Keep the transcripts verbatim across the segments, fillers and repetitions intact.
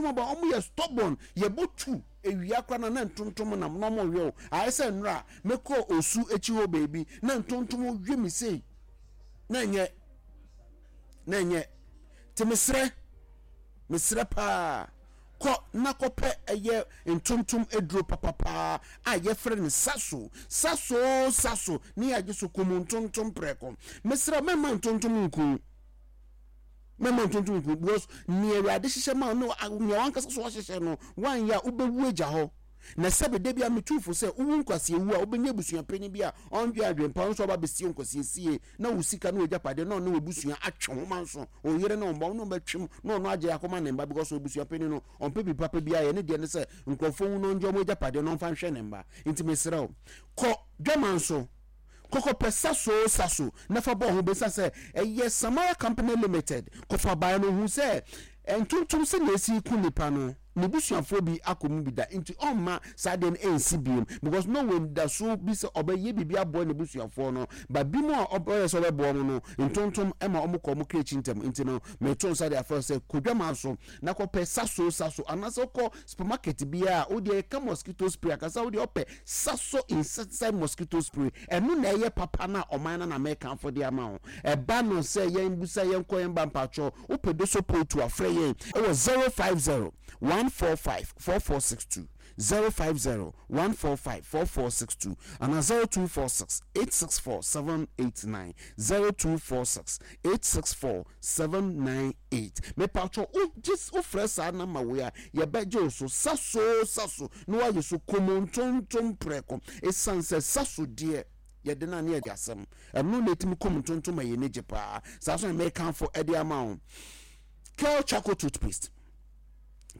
Ntontom aba, ɔmo yɛ stubborn. Yɛbɔ tu ewia kora na na ntontom nam na ɔmo yɛ o. Ayɛ sɛ nnora mekɔ Osu akyi hɔ beebi na ntontom wie mi sei na nyɛ na nyɛ. Te mesrɛ, mesrɛ paa, kɔ na kɔpɛ ɛyɛ ntontom aduro papapaa a yɛfrɛ no Saso, Saso, Saso ne yɛagye so kum ntontom prɛko. Mesrɛ, mɛma ntontom nku, mɛma ntontom nku, because nea Awurade hyehyɛ ma no, nea wankasa so ahyehyɛ no, wanyɛ a wobɛwu agya hɔ. Na sɛbi de bi a metuufo sɛ wowu nkwasiewu a, wobɛnya abusuapanyin bi a ɔndwe adwempa nso ɔba bɛsie nkwasiesie na wo sika ne w'agyapadeɛ na ɔne w'abusua atwe ho ma nso ɔyere ne ɔmba ɔne ɔbɛtwem na ɔno agye akɔma ne mba, because abusuapanyin no ɔmpɛ bi papa bi ayɛ ne deɛ ne sɛ nkurɔfoɔ wu na ɔngye ɔmo agyapadeɛ na ɔmfa nhwɛ ne mba. Nti mesrɛ wo, kɔ dwama nso kɔkɔpɛ Saso, Saso na fa bɔ ho bɛsa sɛ ɛyɛ Samara Company Limited. Kɔfa ban no hu sɛ ntontom sɛ na esi ku nipa no, ne busuafoɔ bi akɔ mu bi da, nti ɔmma saa deɛ no ɛnsi biem, because no wɔ nidaso bi sɛ ɔbɛyɛ biribi aboa ne busuafoɔ no ba bi mu a ɔbɛyɛ sɛ ɔbɛboa mo no, ntontom ɛma ɔmo kɔ ɔmo kra akyi ntɛm. Nti no meto nsa de afɛ sɛ kodwama so na kɔpɛ Saso, Saso, anaasɛ wokɔ supermarket biara a wodeɛ ɛka mosquito spray akasa, wodeɛ ɔpɛ Saso insecticide mosquito spray. Ɛno na ɛyɛ papa na ɔman no na mɛkamfo de ama wo. Ɛba no sɛ yɛn busa yɛn kɔ yɛn ba mpatwɔ wopɛ do so pootu afrɛ yɛn ɛwɔ zero five zero one four five four four six two, zero five zero one four five four four six two, ana zero two four six eight six four seven eight nine, zero two four six eight six four seven nine eight. Mepatwɔ, wogye wofrɛ saa number wei a, yɛbɛgye wo so. Saso, Saso na woayɛ so komontontom prɛko, ɛsiane sɛ Saso deɛ yɛde no a ne yɛde asɛm ɛno na ɛtumi kɔm ntontom a yɛni gye paa. Saa so na mekamfo ɛde ama wo Kel Charcoal toothpaste,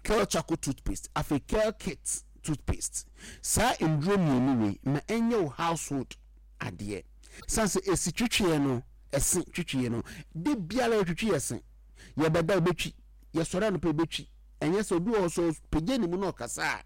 Kel Charcoal toothpaste, afei Kel Kit toothpaste. Saa nduro mmienu wei ma ɛnyɛ wo household adeɛ, san sɛ esi twitwiɛ no, ɛse twitwiɛ no de biara yɛtwitwi yɛ se, yɛbɛda yɛbɛtwi, yɛsɔre anɔpɛ yɛbɛtwi. Ɛnyɛ sɛ obi wɔ so pagya ne mu na ɔkasa a,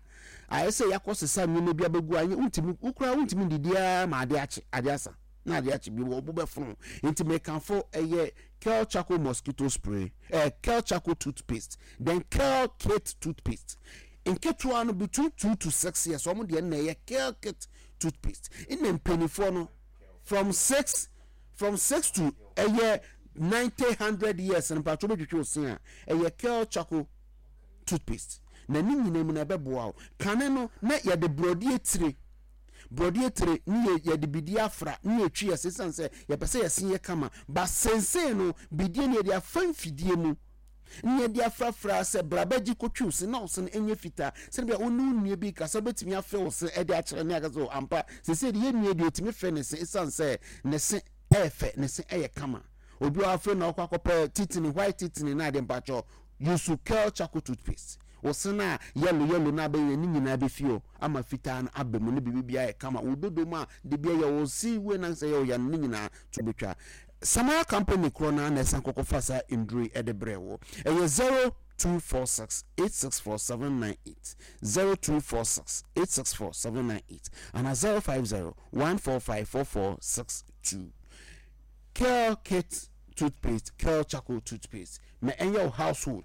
ayɛ sɛ yɛakɔ sesa nneɛma bi abɛgu anyɛ wontumi wokura, wontumi didi ara ma ade akye, ade asa na ade akye bi wɔ ɔbo bɛfono. Nti mekanfo ɛyɛ Kel Charcoal mosquito spray, ɛɛ Kel Charcoal toothpaste, then Kel Kit toothpaste. Nketewa no between two to six years wɔn deɛ na ɛyɛ Kel Kit toothpaste, ɛna mpanimfoɔ no from six from six to ɛyɛ ninety hundred years no, mpatwo bɛtwitwi ose a, ɛyɛ Kel Charcoal toothpaste. Na ne nyinaa mu na ɛbɛboa wo. Kane no na yɛde borɔdeɛ tire, borɔdeɛ tire ne yɛ yɛde bidie afra ne yɛtwi yɛse, siane sɛ yɛpɛ sɛ yɛse yɛ kama ba. Sensei no bidie no yɛde afa mfidie mu ne yɛde afrafra sɛ brabagye kɔtwi wo se na wo se no ɛnyɛ fitaa, sɛne bia wo ne wo nnua bi kasa wobɛtumi afɛ wo se ɛde akyerɛ ne aka sɛ ampa sɛsei de yɛ nnua deɛ ɔtumi fɛ ne se, ɛsiane sɛ ne se ɛyɛ fɛ, ne se ɛyɛ kama. Obi a afei na ɔkɔ akɔpɛ titini, white titini na ade, mpakyɛw, use Kel Charcoal toothpaste. Wo se no a yellow yellow na abɛyɛ ne nyinaa bɛfi hɔ ama fitaa no aba mu ne biribi biara yɛ kama. Wo dodo mu a de bia yɛ wo si wei na sɛ yɛ wo ya no, ne nyinaa to bɛtwa. Samara Company korɔ no na ɛsan kɔkɔfa saa nduro yi ɛde brɛ wo. Ɛyɛ zero two four six eight six four seven nine eight, zero two four six eight six four seven nine eight, ana zero five zero one four five four four six two. Kel Kit toothpaste, Kel Charcoal toothpaste, ma ɛnyɛ wo household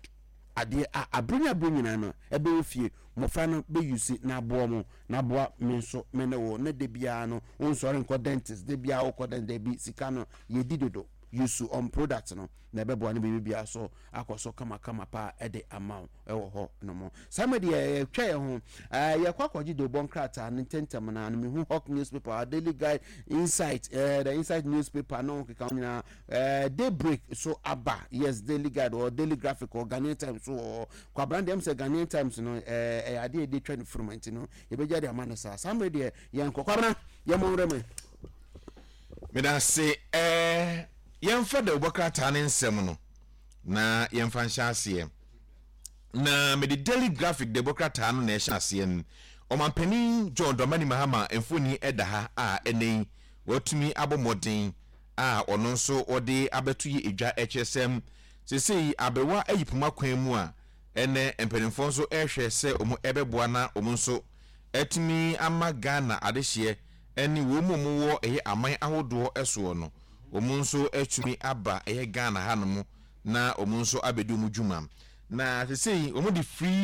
adeɛ a abere ne abere nyinaa no ɛbɛwɔ fie. Mmɔfra no bɛyusi na aboa mo na aboa me nso me ne wo ne de biara no wonsɔre nkɔ dentist de biara wokɔ dentist bi sika no yɛdi dodo. Use on product no na ɛbɛboa no biribi biara so akɔ so kamakama paa ɛde ama wo ɛwɔ hɔ nom. Saa mɛ deɛ yɛtwa yɛn ho ɛɛ yɛkɔ akɔgye de bɔ nkrataa no ntɛntɛm na no mehu Hawk newspaper, Daily Guide, Insight, ɛɛ the Insight newspaper no keka ho nyinaa, ɛɛ Daybreak so aba. Yes, Daily Guide or Daily Graphic or Ghanaian Times so wɔ kwabran deɛ m sɛ Ghanaian Times no ɛɛ ɛyɛ adeɛ yɛde twa ne furum, nti no yɛbɛgya de ama no saa. Saa mmerɛ deɛ yɛnkɔ kwabran, yɛmmɔ nwura mu. Meda ase. ɛɛ yɛmfa dawubɔ krataa ne nsɛm no na yɛmfa nhyɛ aseɛ, na mede Daily Graphic dawubɔ krataa no na ɛhyɛ aseɛ no. Ɔmampanin John Dramani Mahama mfoni ɛda ha a ɛnɛ yi watumi abɔ mmɔden a ɔno nso wɔde abɛto yɛ edwa, ɛkyerɛ sɛm seesei aberewa ayi poma kwan mu a ɛnɛ mpanimfoɔ nso ɛrehwɛ sɛ wɔn ɛbɛboa na wɔn nso ɛtumi ama Ghana adehyeɛ ɛne wɔn mu a wɔwɔ ɛyɛ aman ahodoɔ ɛsoɔ no, wɔn nso atumi aba ɛyɛ Ghana hanom na wɔn nso abɛdi wɔn dwuma. Na seesei wɔn de free